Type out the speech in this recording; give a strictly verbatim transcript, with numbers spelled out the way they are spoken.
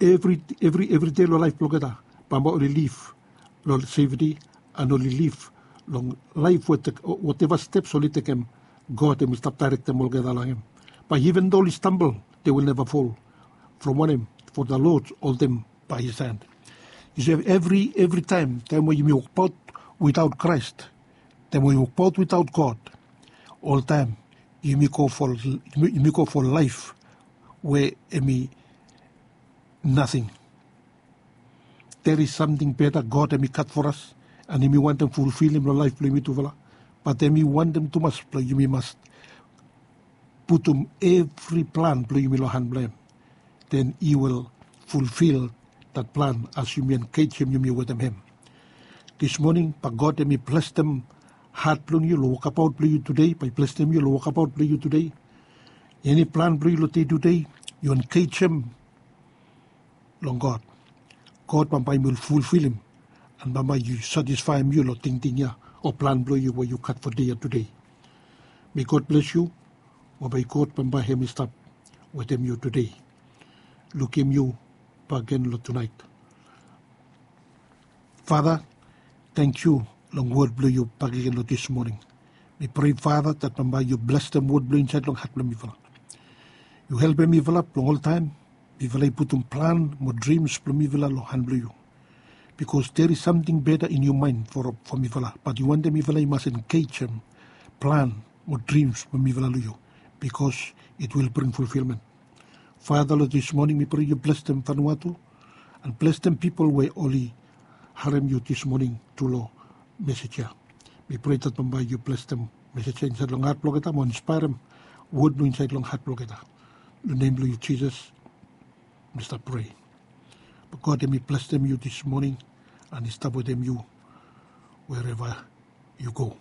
evri evri evri dei long laef blong olgeta, bambae oli liv long sefti, and oli liv long laef we woteva steps oli tekem, God hemi stap daerektem olgeta long hem. Bae even though oli stambol, they will never fall. From wanem? For the Lord hold them by his hand. Yu si, evri evri taem, taem we yumi wokbaot without Christ, taem we yumi wokbaot without God, oltaem yumi go for yumi go for laef we hemi nating. There is samting beta God hemi gat for us, and hemi wantem fulfilim long laef blong yumi tufala. Bat hemi wantem tumas blong yumi mas putum evri plan blong yumi long han blong hem. Then he will fulfil that plan as yumi engejem yumi wetem hem. This morning, bae God hemi blestem hat blong yu long wokabaot blong yu tudei, bae i blestem yu long wokabaot blong yu tudei. Eni plan blong yu long dei tudei, yu engejem long God. God bambae hemi fulfilim, and bambae i satisfaem yu long tingting ya o plan blong yu we yu gat for dei ya tudei. May God bless you, mo bae God bambae hemi stap wetem yu tudei. Lukim yu bakegen long tunaet. Fata, tangkiu long wod blong yu bakegen long this morning. Mi prea, Fata, that bambae yu blestem wod blong yu insaed long hat blong mifala. Yu helpem mifala blong oltaem mifala i putum plan mo drims blong mifala long han blong yu. Because there is samting beta in your mind for, for mifala, bat yu wantem mifala i mas engejem plan mo drims blong mifala long yu, because it will bring fulfilment. Fata, long this morning mi prea yu blestem Vanuatu, and blestem pipol we oli harem yu this morning tru long mesej ya. Mi prea that bambae yu blestem mesej ya insaed long hat blong olgeta, mo inspaerem wod blong yu insaed long hat blong olgeta. Long nem blong yu Jisas mi stap prea. Bae God hemi blestem yu this morning, and i stap wetem yu wherever you go.